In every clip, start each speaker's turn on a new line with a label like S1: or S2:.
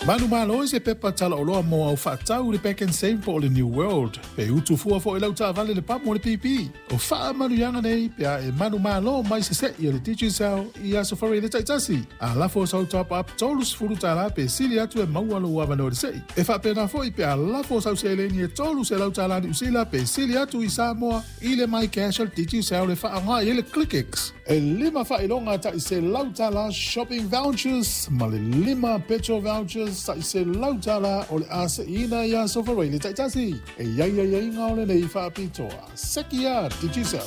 S1: Manumalo i se pepa talaoloa mo au faatau i le Pak'nSave po o le New World. Pe utu fua foi lau taavale le pamu o le pipi. O faamanuiaga nei pe a e manumalo mai se se'i a le Digicel i Aso Faraile taitasi. A lafo sau top up $30 pe sili atu e maua lou avanoa i le se'i. E faapena foi pe a lafo sau seleni e $300 Niu Sila pe sili atu i Samoa i le MyCash a le Digicel e faaaoga i ai le ClickX. E lima faailoga tai $100 shopping vouchers ma le lima petrol vouchers tai $100 o le a se'iina i Aso Faraile taitasi. E i ai aiaiga o lenei faapitoa. Sekia Digicel.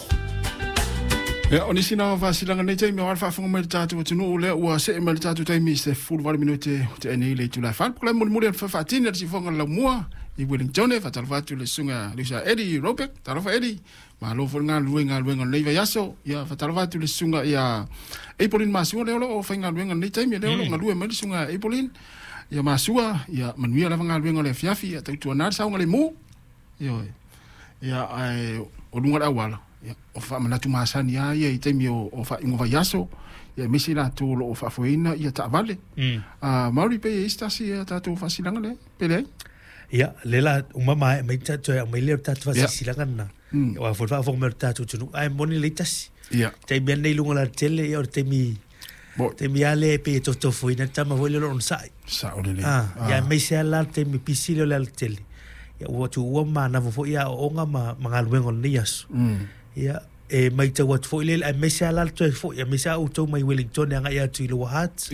S2: Ia, o nisi na o faasilaga nei taimi o le faafofoga mai le tatou atunuu lea ua see mai le tatou taimi i se 18 minute ua tea nei le itula e 4. Polokalame mulimuli o le faatini a le siufofoga o le laumua i Wellington. E faatalofa atu i le susuga Lusa Eddie Robeck. Talofa Eddie. Malo foi le galulue i galuega o lenei vaiaso. Ia, faatalofa atu i le susuga ia Apolin Masua lea o lo o faigaluega i lenei taimi, lea o lo o galue mai le susuga Apolin. Ia Masua, ia manuia lava galuega o le afiafi, ia tautuana le saogalemu. Ioe. Ia, ae o luga o le auala, ia, o faamanatu masani lava ia i taimi o faaiuga vaiaso, ia aemaise i latou o lo o faafoeina ia taavale. Maori pe i ai se tasi a tatou faasilaga lea, pe leai?
S3: Ia, le la uma maea mai tatou e aumai lea o le tatou faasilasilaga lena. Aua foi le faafofoga mai o le tatou atunuu, ae moni lelei tasi. Taimi lava lenei i luga o le alatele, ia o le taimi taimi lava lea e pei e tofotofoina le tama foi lea o le onosai.
S2: Sao lelei.
S3: Ia aemaise lava la le taimi pisi lea o le alatele, ia ua tuua ma manava foi aoaoga ma galuega o lenei aso. Ia, e matau atu foi lea, aemaise lava la le toe foi, aemaise lava outou mai Wellington e agai atu i Lower Hutt.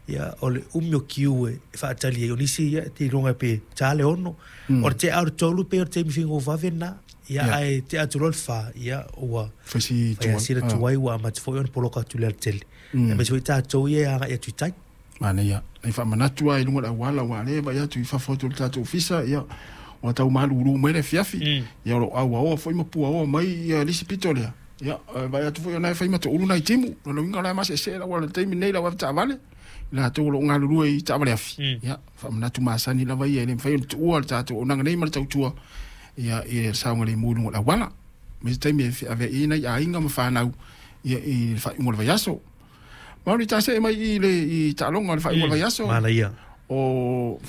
S3: Ia, o le umi o kiu e faatali ai. O nisi, ia, te iloga pe ta le 6. O le tea o le 3 pei o le taimi faigofave lena. Ia, ae tea atu loa le 4, ia, ua
S2: Fai si
S3: fai asila tuai, ua amata foi ona poloka atu i le alatele. Aemaise foi tatou ia e agai atu i tai.
S2: Manaia. Nai faamanatu lava i luga o le auala, aua o lea e vaai atu i fafo atu o le tatou ofisa, ia, ua tau malulu mai le afiafi. Ia, o lo o auaoa foi ma puaoa mai ia le isi pito lea. Ia, e vaai atu foi o la e fai ma toulu nai timu. O lona uiga o la e maseese le auala i le taimi lenei i le au avetaavale, i latou o lo o galulue i taavale afi. Ia, faamanatu masani lava ia, e le mafai ona tuua le tatou auaunaga nei ma le tautua ia, i le saogalemu i luga o le auala. Aemaise taimi e feaveai ai nai aiga ma fanau ia, i le faaiuga o le vaiaso. Maori, ta see mai i le i taaloga o le faaiuga o le vaiaso.
S3: Manaia.
S2: O